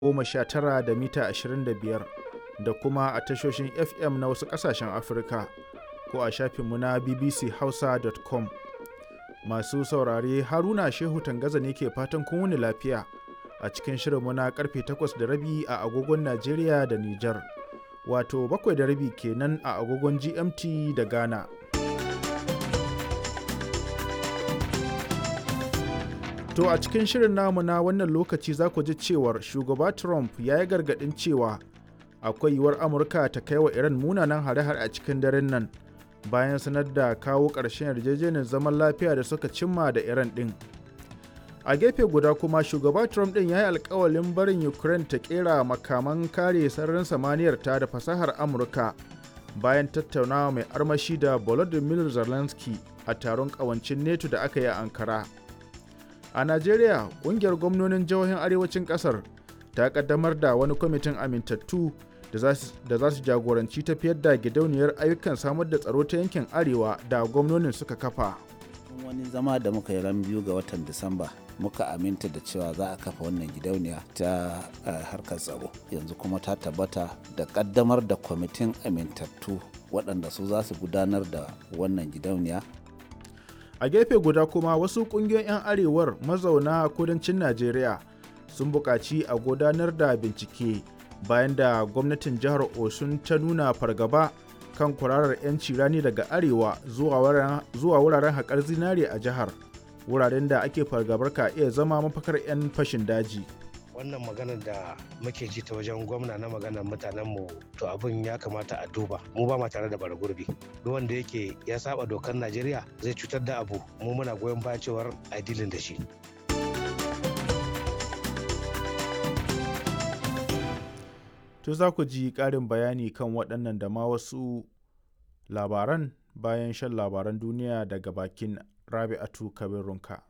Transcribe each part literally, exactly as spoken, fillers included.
goma sha tara da mita ashirin da biyar da kuma a tashoshin F M na wasu ƙasashen Afirka ko a shafinmu na B B C Hausa dot com. Masu saurare, Haruna Shehu Tangaza ne ke fatan kun wuni lafiya a cikin shirinmu na karfe takwas da rabi a agogon Najeriya da Nijar, wato bakwai da rabi kenan a agogon G M T da Ghana. To a cikin shirin namu na wannan lokaci za ku ji cewar shugaba Trump ya yi gargaɗin cewa akwai yiwuwar Amurka ta kai wa Iran munanan hare-hare a cikin daren nan bayan sanar da kawo ƙarshen yarjejeniyar zaman lafiya da suka cimma da Iran ɗin. A gefe guda kuma, shugaba Trump ɗin ya yi alkawalin barin Ukraine ta ƙera makaman kare sararin samaniyar ta da fasahar Amurka bayan tattaunawa mai armashi da Volodymyr Zelensky a taron ƙawancin NATO da aka yi a Ankara. A Najeriya, kungiyar gwamnonin jihohin arewacin kasar ta kaddamar da wani kwamitin amintattu da za su jagoranci tafiyar da gidauniyar ayyukan samar da tsaro ta yankin arewa da gwamnonin suka kafa. Wani zama da muka yi ran biyu ga watan Disamba, muka aminta da cewa za a kafa wannan gidauniya ta harkar tsaro. Yanzu kuma ta tabbata da kaddamar da kwamitin amintattu waɗanda su za su gudanar da wannan gidauniya. A gefe guda kuma, wasu kungiyoyin 'yan arewar mazauna kudancin Najeriya sun buƙaci a gudanar da bincike bayan da gwamnatin jihar Osun ta nuna fargaba kan kwararar 'yanci rani daga arewa zuwa wuraren haƙar zinare a jihar, wuraren da ake fargabar ka iya zama mafakar 'yan fashin daji. Wannan maganar da muke ji ta wajen gwamna na maganar mutanenmu, to abin ya kamata a duba. Mu ba ma tare da bara gurbi. Duk wanda yake ya saba dokar Najeriya zai cutar da abu, mu muna goyon bayan cewar a dilin da shi. To za ku ji ƙarin bayani kan waɗannan da ma wasu labaran bayan shan labaran duniya daga bakin Rabi'atu Kabir Runka.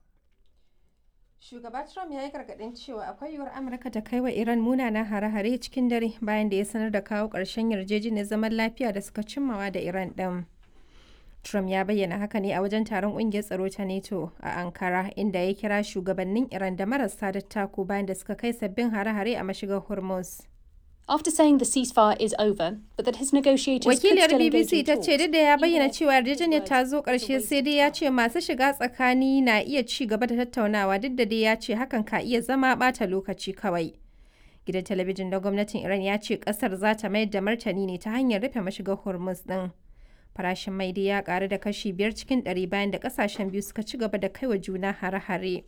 Shugaba Trump ya yi gargaɗin cewa akwai yiwuwar Amurka ta kai wa Iran munanan hare-hare cikin dare bayan da ya sanar da kawo ƙarshen yarjejeniyar zaman lafiya da suka cimmawa da Iran ɗin. Trump ya bayyana haka ne a wajen taron ƙungiyar tsaro ta NATO a Ankara, inda ya kira shugabannin Iran da marasa dattako bayan da suka kai sabbin hare-hare a mashigar Hormuz. After saying the ceasefire is over, but that his negotiators Wakiliyar B B C ta ce duk da ya bayyana cewa yarjejeniyar ta zo ƙarshe, sai dai ya ce masu shiga tsakani na iya ci gaba da tattaunawa, duk da dai ya ce hakan ka iya zama ɓata lokaci kawai. Gidan talabijin na gwamnatin Iran ya ce ƙasar za ta mayar da martani ne ta hanyar rufe mashigar Hormuz ɗin. Farashin mai dai ya ƙaru da kashi biyar cikin ɗari bayan da ƙasashen biyu suka ci gaba da kaiwa juna hare-hare.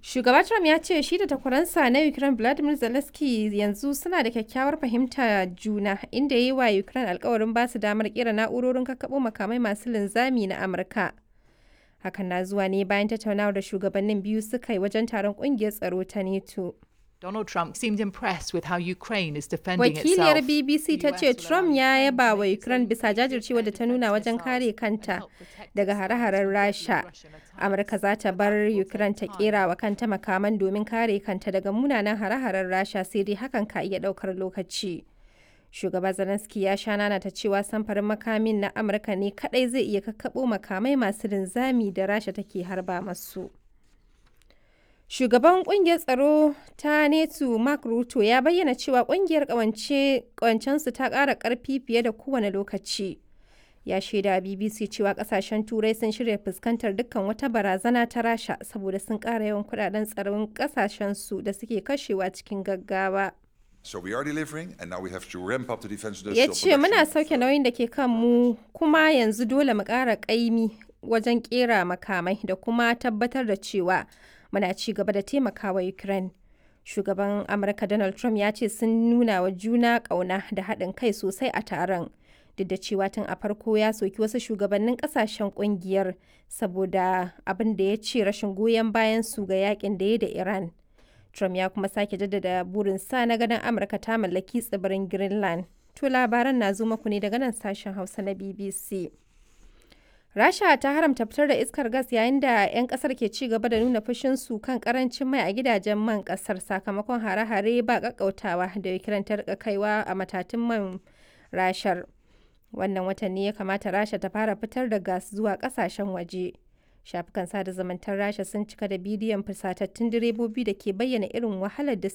Shugaba Trump ya ce shi da takwaransa na Ukraine Vladimir Zelensky yanzu suna da kyakkyawar fahimta juna, inda ya yi wa Ukraine alkawarin ba su damar kera na'urorin kakkaɓo makamai masu linzami na Amurka. Hakan na zuwa ne bayan tattaunawar da shugabannin biyu suka yi wajen taron kungiyar tsaro ta NATO. Donald Trump seemed impressed with how Ukraine is defending Wakiliyar itself. B B C ta ce Trump ya yaba wa Ukraine bisa jajircewa da ta nuna wajen kare kanta daga hare-haren Rasha. Amurka za ta bar Ukraine ta kera wa kanta makaman domin kare kanta daga munanan hare-haren Rasha, sai dai hakan ka iya daukar lokaci. Shugaba Zelensky ya sha nana ta cewa samfarin makamin na Amurka ne kadai zai iya kakkaɓo makamai masu linzami da Rasha take harba masu. Shugaban kungiyar tsaro ta NATO Mark Rutte ya bayyana cewa kungiyar kawancensu ta ƙara ƙarfi fiye da kowane lokaci. Ya shaida B B C cewa kasashen Turai sun shirya fuskantar dukkan wata barazana ta Rasha saboda sun ƙara yawan kudaden tsaron kasashensu da suke kashewa cikin gaggawa. So we are delivering and now we have to ramp up the defense Ya industrial ce muna production. sauke nauyin da ke kan mu, kuma yanzu dole mu ƙara ƙaimi wajen ƙera makamai da kuma tabbatar da cewa muna ci gaba da taimakawa Ukraine. Shugaban Amurka Donald Trump ya ce sun nuna wa juna ƙauna da haɗin kai sosai a taron. Duk da cewa tun a farko ya soki wasu shugabannin ƙasashen ƙungiyar saboda abin da ya ce rashin goyon bayan su ga yakin da ya da Iran. Trump ya kuma sake jaddada burinsa na ganin Amurka ta mallaki tsibirin Greenland. To labaran na zo muku ne daga nan sashen Hausa na B B C. Rasha ta haramta fitar da iskar gas yayin da 'yan kasar ke ci gaba da nuna fushinsu kan karancin mai a gidajen man kasar sakamakon hare-hare ba kakkautawa da Ukraine ta rika kaiwa a matatun man Rashar. Wannan watan ne ya kamata Rasha ta fara fitar da gas zuwa kasashen waje. Shafukan sada zumuntar Rasha sun cika da bidiyon fusatattun direbobi da ke bayyana irin wahalar da